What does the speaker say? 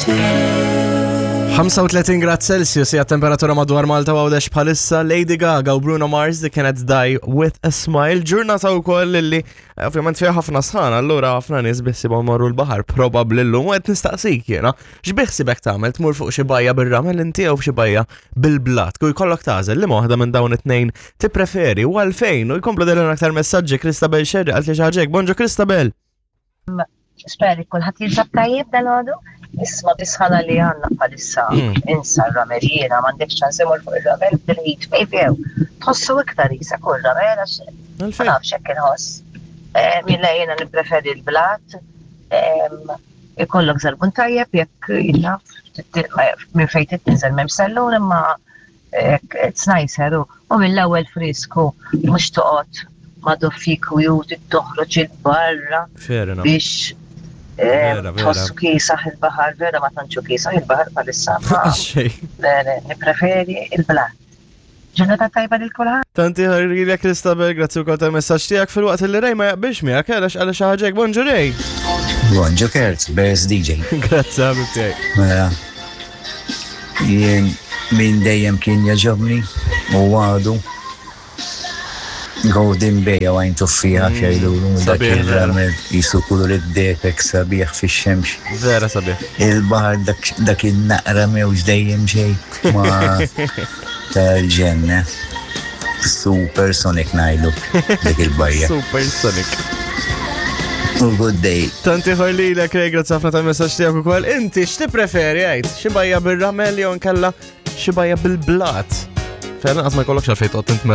35 grad Celsius hija temperatura madwar Malta u Għawdex bħalissa Lady Gaga u Bruno Mars The Cannot Die With a Smile. Ġurnata wkoll li eh, ovvjament fiha ħafna sħana, allura ħafna nies biħsibhom marru l-baħar probabbli llum u qed nistaqsik jiena. X'biħsibek tagħmel tmur fuq xi bajja bir-ramel inti jew f'xi bajja bil-blat? Kull jkollok tagħżel li waħda minn dawn it-tnejn tippreferi u għalfejn u jkomplu dejjem aktar messaġġi Christabel Sherry qalt li xi ħaġa hekk. Bonġu Christabel! Spera li kulħadd jinsab tajjeb dal-għodu. Isma bisħana li għandna bħalissa mm. insa r-ramel jiena m'għandekx ċans imur fuq ir-ramel bil-heat wave jew tħossu iktar jisa kull ramel għax ma nafx hekk inħoss. Eh, Milla jiena nippreferi l-blat. Ikollok żarbun tajjeb jekk jinnaf minn fejn titniżel m'hemm sellun imma It's nicer u mill-ewwel frisku mhux toqgħod ma' doffik u ju toħroġ il-barra biex eh, tħossu kiesaħ il-baħar, vera ma tantxu kiesaħ il-baħar bħalissa. Nippreferi il-blat. Ġurnata tajba lil kulħadd. Tanti ħarrilek Kristabel, grazzi wkoll tal-messaġġ tiegħek fil-waqt li Rej ma jaqbilx miegħek għalax għal xi ħaġa Bonġu Rej. Bonġu Kurt, best DJ. Grazzi ħabib tiegħi. Mela, Jien min dejjem kien jogħġobni u għadu Golden Bay jew għajn tuffieħa mm, xejdulu dak il-ramel jisu kulur id-depek sabiħ fix-xemx. Vera sabiħ. Il-baħar dak il-naqra mewġ dejjem ġej ma tal-ġenna. Super Sonic najdu dik il-bajja. Super Sonic. U good day. Tanti ħorlilek, Ray, grazzi ħafna tal-messaġġ tiegħek ukoll. Inti x'tippreferi għid? Xi bajja bir-ramel jew nkella xi bajja bil-blat? Fejn lanqas ma jkollokx għalfejn toqgħod tintmess.